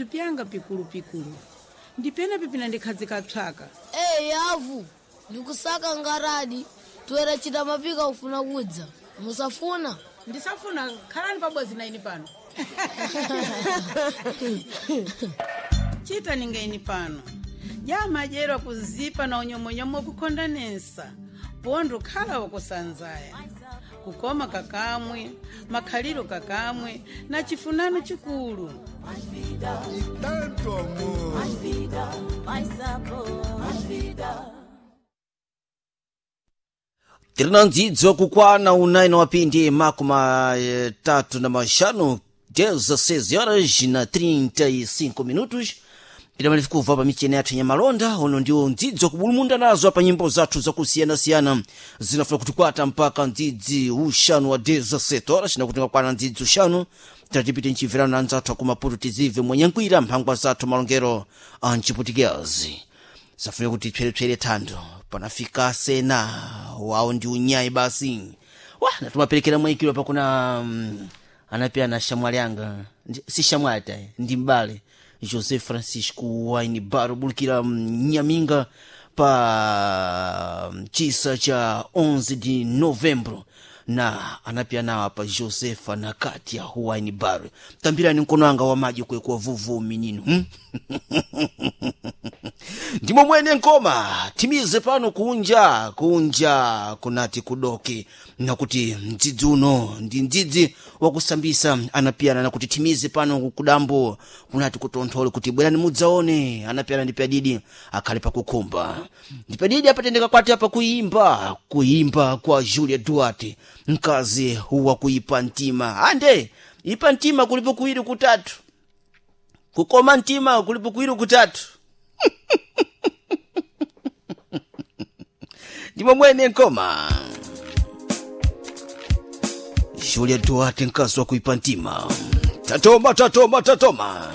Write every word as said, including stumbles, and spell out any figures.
Pyanga pikulupikulu ndipena pipina ndikhazika psaka. Eyi yavu, ndikusaka ngaradi toera chita mapika ufuna kudza musafuna. Ndisafuna, khalani pabodzi na ine pano. Chita ninga ini pano jamadyerwa kuzipa na unyomonyomo kukhondanesa pondo khala wakusanzaya kukoma kakamwe makhaliro kakamwe na chifunano chikulu. E tanto amor. Tirina ndzidzo kukwana unayi na wapindi makumi eh, tatu na maxanu, dezesseis horas na trinta e cinco minutos. Tidamalifi kubva pa micheni yathu nyamalonda. Uno ndiwo ndzidzo kubulumunda nazo pa nyimbo zathu zakusiyanasiyana zinafuna kutikwata mpaka ndzidzi uxanu wa dezessete horas, nakuti ngakwana ndzidzi uxanu tatipite mchimverano na anzathu akumaputo tizive mwenyankwira mphangwa zathu malongero a mchiputikezi zafuna kuti pserepsere thando panafika sena wawo ndi unyayi basi wa natumaperekera mwayikiro pakuna mm, anapiyana shamwali anga. Ndi- si shamwali tayi, ndi mbale José Francisco Waini Baro bulukira mm, Nyaminga pa mm, chisa cha onze de Novembro na anapiyanawa pa Josefa na Katia Waini Baro. Tambirani mkono anga wa maji kwekuwa vuvu minino, hmm? Ndimo mwene nkoma timize pano kunja kunja kunati kudoke nakuti mdzidzi uno ndi mdzidzi wakusambisa anapiyana nakuti timize pano kudambo kunati kutonthole kuti bwerani mudzaone anapiyana ndi pyadidi akhale pakukhumba ndipadidi apatendeka kwati apa kuimba kuimba kwa Julia Duarte, mkazi wakuipa mtima. Ande ipa mtima kulipo kuwiri kutatu, kukoma mtima kulipo kuwiri kutatu. Ndimo mwene nkoma Julia Duarte, mkazi wa kuipa mtima. Tatoma, tatoma, tatoma.